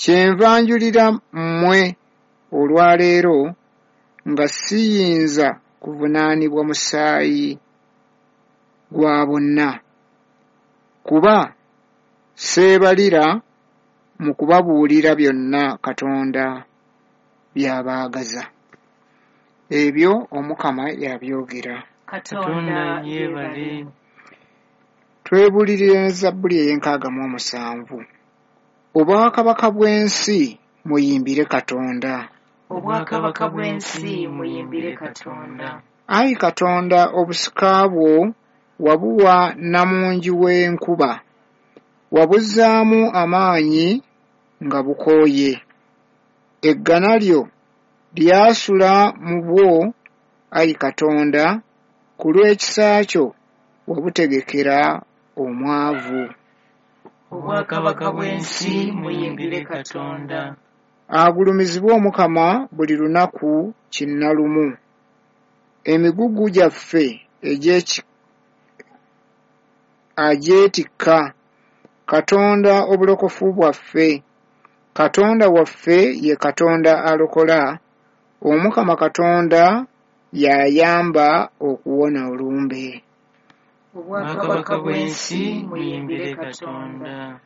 Kyenva njulira mmwe olwa leero nga siyinza kuvunaanibwa musaayi gwa bonna, kuba seebalira mu kubabuulira byonna Katonda by'abaagaza. Ebyo Omukama y'abyogera. Katonda yeebale. Twebuulirire ne Zabbuli ey'enkaaga mu 7. Obwakabaka bw'ensi muyimbire Katonda. Obwakabaka bw'ensi muyimbire Katonda. Ayi Katonda obusika bwo wabuwa nnamungi w'enkuba, wabuzzaamu amaanyi nga bukooye. Eggana lyo lyasula mu bwo ayi Katonda, ku lw'ekisa kyo wabutegekera omwavu. Obwakabaka bw'ensi muyimbire Katonda. Agulumizibwe Omukama buli lunaku kinnalumu. Emigugu gyaffe agyetikka, Katonda obulokofu bwaffe. Katonda waffe ye Katonda alokola, Omukama Katonda y'ayamba okuwona olumbe. Obwakabaka bw'ensi muyimbire Katonda.